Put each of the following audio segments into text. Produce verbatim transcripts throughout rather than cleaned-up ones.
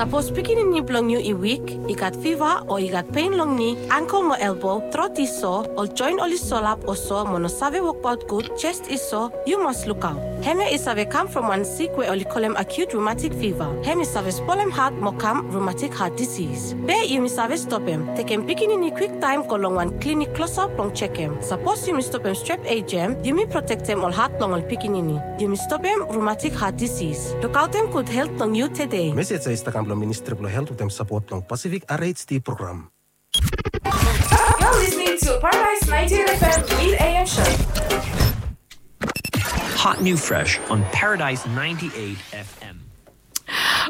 Sapos pikinini blong yu i wik, i gat fiva o i gat pen long ni, angkel mo elbo, trot i so, ol joen oli solap o so mo no save wokbaot gud, jes i so, yu mas lukaot. Hemia i save kam from wan sik we oli kolem acute rheumatic fever. Hem i save spolem hat mo kam rheumatic heart disease. Be yumi save stopem, tekem pikinini kwiktaem go long wan klinik klosap blong jekem. Sapos yumi stopem strep ejem, yumi protektem ol hat blong ol pikinini. Yumi stopem rheumatic heart disease. Lukaotem gud helt blong yu tede. Mesej ya i stap kam blong Ministri blong Helt wetem sapot blong Pacific R H D program. You're listening to Paradise ninety-eight F M Mid A M Show. Hot new fresh on Paradise ninety-eight F M.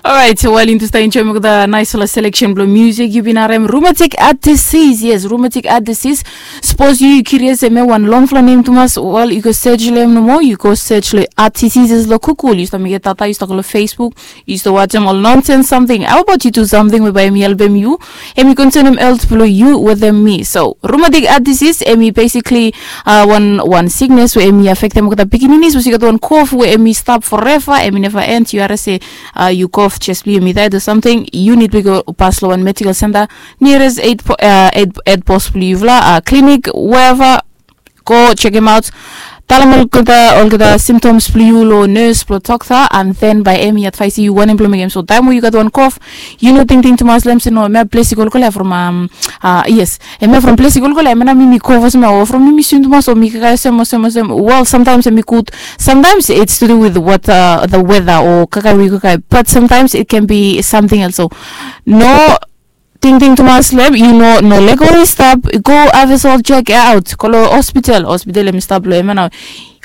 Alright, so while yumi stap enjoem olgeta naesfala selection blong music, yu bin harem rheumatic heart disease. Yes, rheumatic heart disease. Sapos yu curious hemia wan longfala nem tumas, wel, yu go search long hem nomo, yu go search long heart diseases long Google. Yu stap mekem data, yu stap go long Facebook, yu stap wajem ol nonsense samting. How about yu do samting we bae hemi helpem yu, hemi konsenem helt blong yu wetem mi? So rheumatic heart disease, hemi basically, uh, wan, wan siknes we hemi afektem olgeta pikinini. Sapos yu gat wan kof we hemi stap forever, hemi neva end, yu harem se, uh, yu kof, jes blong yu hemi taet o samting, yu nid blong yu go pas long wan medical center nearest hed po-, uh, hed, hed pos blong yufala, uh, klinik, wherever. Go jekemaot. Talem olgeta, olgeta symptoms blong yu long nes blong dokta, and then bae hemi advaes yu wanem blong mekem. So taem we yu gat wan kof, yu no tingting tumas long hem se no, hemia ples i kolkol ya from, um, uh, yes, hemia from ples i kolkol ya, hemia nao mi, mi kof olsem ya, o from mi, mi swim tumas, o mi kakae olsem, olsem, olsem. Wel, sometimes hemi gud, sometimes it's to do with what, uh, the weather o kakae we yu kakae, but sometimes it can be something else. So no tingting tumas long hem, yu no, no lego i stap, go have a soul check out, go long hospital. Hospital hemi stap long hemia nao.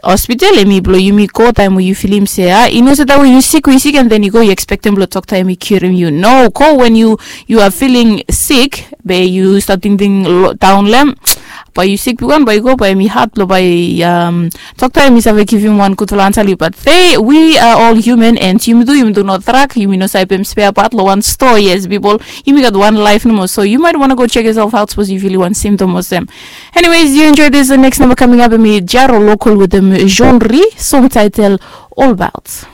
Hospital hemi blong yumi go taem we yu filim se, ah, yu no se taem we yu sik, we yu sik, and then yu go, yu ekspektem blong dokta hemi kiurem yu. No, go when you, you are feeling sick, be yu stap tingting lo-, daon long hem. Bae yu sik bigwan, bae yu go, bae hemi had blong bae, um, dokta hemi save givim wan gudfala ansa long yu. But they, we are all human, and yumi tu, yumi tu no drak, yumi no save pem spare part long wan stoa. Yes, pipol, yumi gat wan laef nomo. So you might wanna go check yourself out, sapos yu filim wan symptom olsem. Anyways, you enjoy this. The next number coming up, hemi Jaro Local wetem Jean Ri, song title All About.